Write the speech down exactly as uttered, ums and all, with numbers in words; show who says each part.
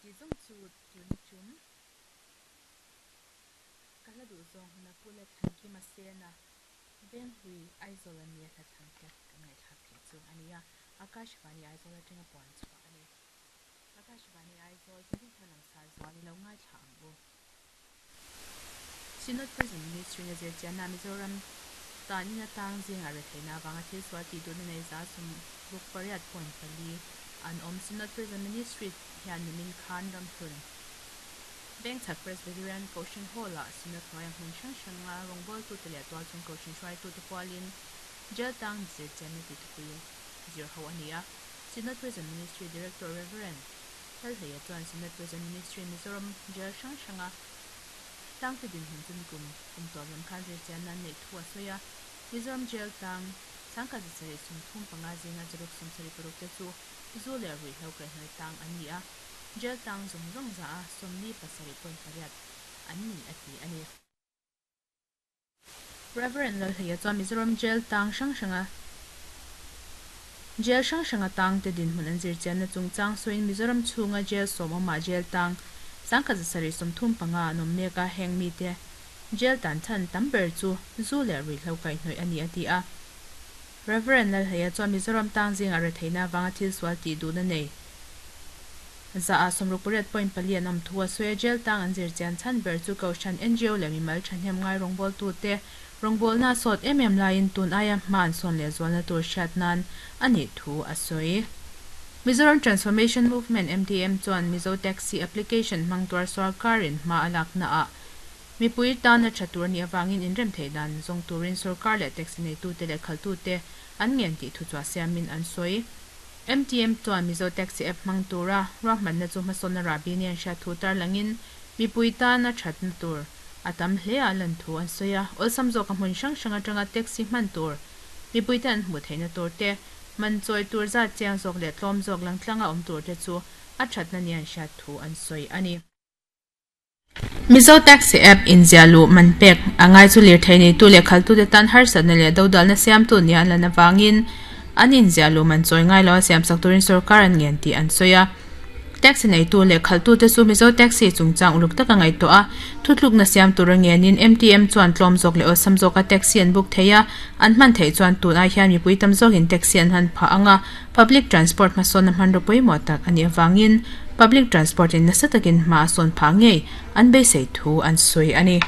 Speaker 1: Hei zawng chu tun tum ka hla duh zawng huna Pu Lalthankima Sena Venghlui Aizawl ami a hla thlan te kan ngaihthlak theih chu a ni a, Akashvani Aizawl atanga puan chhuah a ni. Akashvani Aizawl chanchin thar langsar zual i lo ngaithla ang u. Synod Prison Ministry in a zirchianna Mizoram tanin atang zingah retheihna avanga thil sual tih duhna nei za sawmruk pariat point pali an awm. Synod Prison Ministry hian nimin khan Ramhlun Vengchhak Presbyterian Kohhran Hall-ah Synod hnuaia hmun hrang hranga rawngbawltute leh tualchhung kohhran hruaitute pualin Jail tang zirchianna tih thupui zir ho a ni a. Synod Prison Ministry Director Rev. Lalhleia chuan Synod Prison Ministry Mizoram Jail hrang hranga tangte dinhmun chu nikum kum tawp lam khan zirchianna an neih thu a sawi a. Mizoram Jail tang sangkhat zasarih sawmthum panga zinga zaruk sawmsarih paruk te chu zu leh ruihhlo kaihhnawih tang an ni a, Jail tang zawng zawng za a sawmli pasarih point pariat an ni a ti a ni. Rev. Lalhleia chuan Mizoram Jail tang hrang hranga Jail hrang hranga tangte dinhmun an zirchianna chungchang sawiin Mizoram chhunga Jail sawm awmah Jail tang sangkhat zasarih sawmthum panga an awm mek a, heng mite Jail tan chhan tam ber chu zu leh ruihhlo kaihhnawih a ni a ti a. Rev. Lalhleia chuan Mizoram tang zingah retheihna avanga thil sual tih duhna nei za ah sawmruk pariat point pali an awm thu a sawi a, Jail tang an zirchian chhan ber chu Kohhran, N G O leh mimal thahnem ngai rawngbawltute rawngbawlna a sawt em em laiin tun aia hma an sawn leh zualna tur hriat nan a nih thu a sawi. Mizoram Transformation Movement, M T M, chuan Mizo Taxi Application hmang tuar sawrkarin hma a laknaah mipui tana tha tur a nih avangin inrem theih dan zawng turin sawrkar leh taxi neitute leh khaltute an ngen tih thu chhuah siamin an sawi. M T M chuan Mizo Taxi App hmang tura ruahmanna chu hmasawnna rahbi nia an hriat thu tarlangin mipui tana thatna tur a tam hle a lan thu an sawi a, awlsam zawka hmun hrang hrang atanga taxi hman tur mipuite an hmuh theihna tur te, man chawi tur zat chiang zawk leh tlawm zawk langtlanga awm tur te chu a thatna nia an hriat thu an sawi a ni. Mizo Taxi App inziah luh man pek a ngai chu lirthei neitu leh khaltute tan harsatna leh dodalna siamtu nia an lan avangin an inziah luh man chawi ngai lo a siamsak turin sawrkar an ngen tih an sawi a. Taxi neitu leh khaltute chu Mizo Taxi chungchang uluk taka ngaihtuah a, thutlukna siam tur a ngenin M T M chuan tlawm zawk leh awlsam zawka taxi an book thei a, an hman theih chuan tun ai hian mipui tam zawkin taxi an han phah ang a, public transport hmasawnna hmanraw pawimawh tak a nih avangin public transport in nasa takin hma a sawn phah ngei an beisei thu an sawi a ni.